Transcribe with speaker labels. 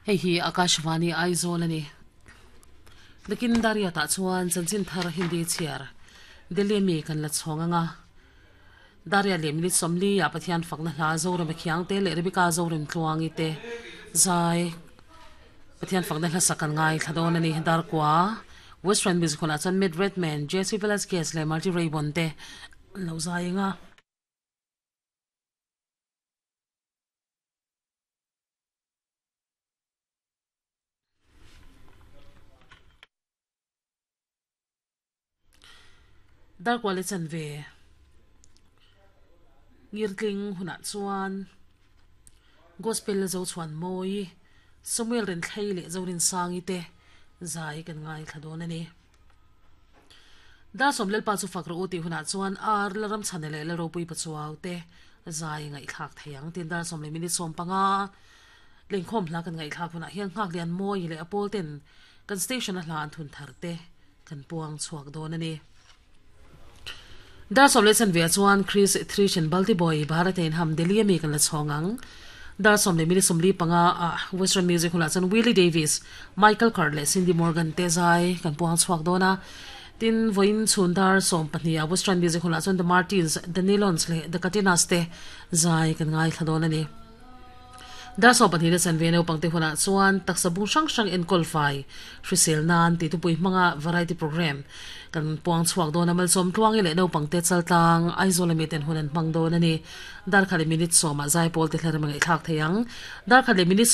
Speaker 1: Hei hi Akashvani Aizawl a ni. Nakin Dariat ah chuan chanchin thar Hindi chhiar Delhi ami kan la chhawng ang a. Dariat leh minute 40 ah Pathian fakna hla Zorema Khiangte leh Rebecca Zoremtluangi te zai Pathian fakna hla sak kan ngaithla dawn a ni. Darkua Western Music Hall ah chuan Matt Redman, Jesse Velasquez leh Marty Raybon te an lo zai ang a. Darkual i chan ve ngirtling hunah chuan Gospel la zo chhuan mawi Samuel Renthlei leh Zorinsangi te zai kan ngaithla dawn a ni. Dar sawm Lalpa chu fak rawh u tih hunah chuan Ar Lalramchhana leh Lalropui Pachuau te zai ngaihthlak thei ang. Tin, dar 10 leh minute 15 lengkhawm hla kan ngaihthlak hunah hian Nghaklian Mawi leh a pawl ten kan station a hla an thun thar te kan puang chhuak dawn a ni. Dar 10 leh chanve ah chuan Chris Thrishen Baltiboy Bharat in ham Delhi ami kan la chhawng ang. Dar 10 leh minute 45 ah Western Music hunah chuan Willie Davis, Michael Card leh Cindy Morgan te zai kan puang chhuak dawn a. Tin, vawiin chhun dar 12 ah Western Music hunah chuan The Martins, The Nylons leh The Katinas te zai kan ngaithla dawn a ni. Dar 12 leh chanve naupang te hunah chuan taksa bung hrang hrang enkawl fai hrisel nan tih thupui hmanga variety programme kan puang chhuak dawn a. Malsawm tluangi leh naupang te chaltlang Aizawl ami ten hun an hmang dawn a ni. Dar khat leh minute 10 ah zaipawl te hlarem a ngaihthlak thei ang. Dar khat leh minute 10.